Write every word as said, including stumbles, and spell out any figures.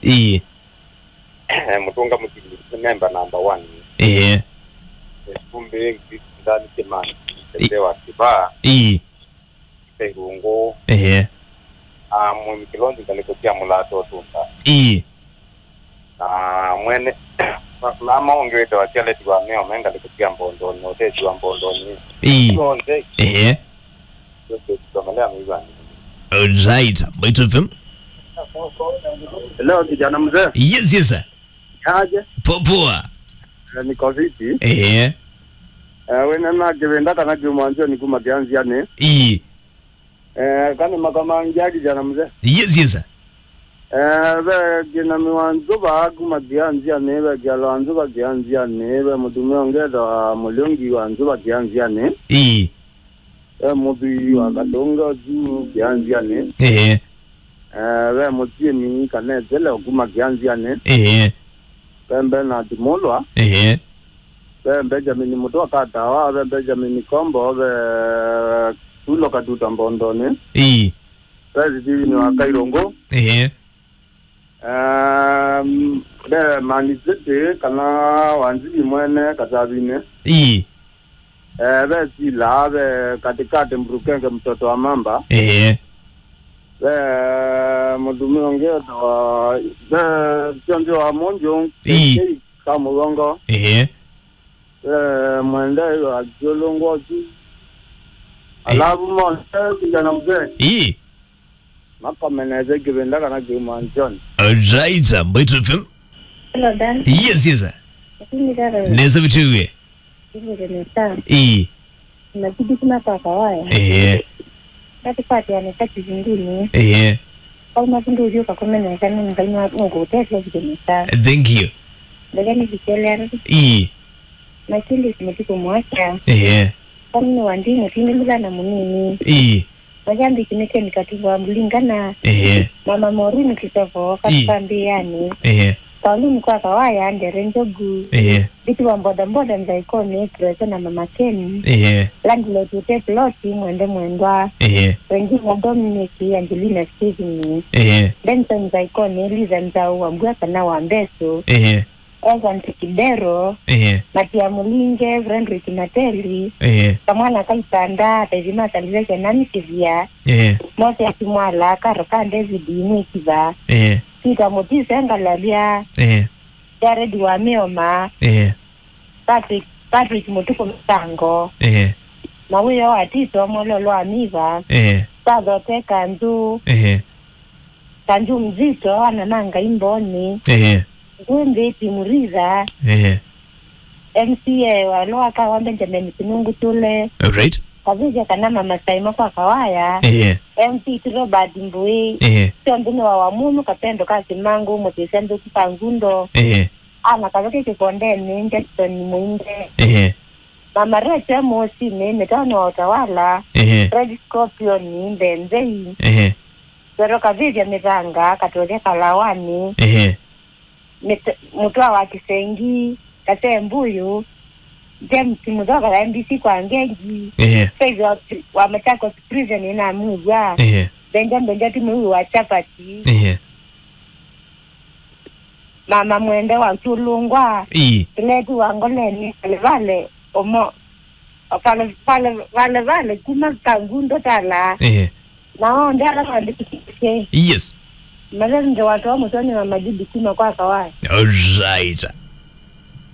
Ĩĩ. Mũtũnga Mũtili, nĩ memba number one. Ĩĩ. Ĩkumbi, Ngisi, Ndani, Kĩmani, Ĩ- Tete wa Kĩvaa, Ĩĩ. Kairungu. Ĩĩ. Ah, Mwĩmi Kĩlonzi, ngalĩko sya Mũlato Tũnda. Ĩĩ. Na mwene, na maũngĩ wĩtawa Charlotte wa Mĩo, me ngalĩko sya Mbondonĩ, ũtesi wa Mbondonĩ. Ĩĩ. Onthe. Ĩĩ. Yote tukamelea mĩigani. Alright, Mbaitu F M. Hello, kijana mzee. Yes, yes, sir. Aje? Poa, poa. Eh, niko fiti. Ehe. Eh, wena na Kĩvinda kana Kĩmwanzio nĩ kuma Kĩanzianĩ. Ii. Eh, kana makama ngia kijana mzee. Yes, yes, sir. Eh, ve kina Miwanzuva kuma Kĩanzianĩ, ve Kialwanzuva Kĩanzianĩ, ve mũtumĩa ũngĩ etawa Mũlĩongi wa Nzuva Kĩanzianĩ. Ii. Ve mũthwii wa Katonga juu Kĩanzianĩ. Ehe. Eh, ve mũtiĩmi kana Etele kuma Kĩanzianĩ. Ehe. Ve Bernard Mulwa. Ehe. Ve Benjamin Mũtwa Katawa, ve Benjamin Kombo, ve Tulo Katuta Mbondonĩ. Ii. Ve Steven wa Kairungu. Ehe. Um, ve Man City kana Wanzili mwene Katavinĩ. Ii. Eh, ve Sila, ve Katikati Mburukenge mtoto wa Mamba. Ehe. Ve mũtumĩa ũngĩ etawa, ve Kĩonzi wa Mũnjũ, Ii. K K Kamũgongo. Ehe. Ve Mwendei wa Kĩũlũngũ ũsu. Ĩ- Alafu Mose, kijana mzee. Ii. Makomenete Kĩvinda kana Kĩmwanzioni. Alright, Mbaitu F M. Hello, Dan. Yes, yes, sir. Lakini dada, nesa vitiwie. Hivyo nesa. Ii. Nazidi kuma kwa Kawaya. Ehe. Kati pati ya nesa kizinguni. Ehe. Kwa mafundu ulio kakomena nesa nini kalima ngutete vile nesa. Thank you. Ndagani vikelera. Ii. Makindi simetiku mwasha. Ehe. Kwa mimi wandi mutini mila na munini. Ii. Mashabiki nĩ Ken Katuva Mulingana. Ehe. Mama Maureen Kĩsoko, Ii. Katika Mbiani. Ehe. Pauline kwa Kawaya, Ndere Njogu. Ehe. Vitu wa bodaboda Nzaikoni, Teresa na Mama Ken. Ehe. Landlord Ute Ploti, Mwende Mwendwa. Ehe. Wengine Dominic, Angelina Steven. Ehe. Benson Nzaikoni, Liza Nzau, Wambua kana wa Mbeso. Ehe. Evans Kidero, Ehe. Matia Mulinge, Frederick Mateli, Ehe. Kamwana Kaitanda, Tethima Salvation Namsivia, Ehe. Moses Mwala, Karo ka David Mwikiva, Ehe. Peter Mutise Ngalalia, Ehe. Jared wa Mioma, Ehe. Patrick, Patrick Mutuku Msango, Ehe. Mawio wa Tito, Mololo wa Miva, Ehe. Sathote Kanzu, Ehe. Kanju Mzito, ana na Ngai Mboni. Ehe. Ngwĩmbĩti Muritha. Ehe. M C A wa Lower Kawa Benjamin Kinungu Tule. Alright. Kavĩsya kana Mama Saima kwa Kawaya. Ehe. M C T Robert Mbui. Ehe. Syonthe nĩ wa Wamunu Kapendo ka Simangu, Mũtĩsya Nthũku ka Ngundo. Ehe. Ana Kaveke Kĩkondeni, Jackson Mũinde. Ehe. Mama Rete Mosinĩ, Mĩtano wa Utawala. Ehe. Red Scorpion, Mbenzei. Ehe. Pero Kavĩvya Mĩthanga, Katũlya Kalawani, Ehe. Mĩt-, Mũtwa wa Kĩsengi, Kase Mbuyu, James Mũthoka wa M B C kwa Ngengi, Ehe. Faith wa, wa Machakos Prison na Mugwa, Ehe. Benja Benja Timui wa Chapati, Ehe. Mama Mwende wa Kyulungwa, Ii. Pileti wa Ngoleni, Vale Vale, Omo, Vale Vale, Vale Vale, kuma Kangundo Tala. Ehe. Na onthe ala mandĩkĩtye. Yes. Mathende watoa mũtoni wa Majidi kuma kwa Kawai. All right.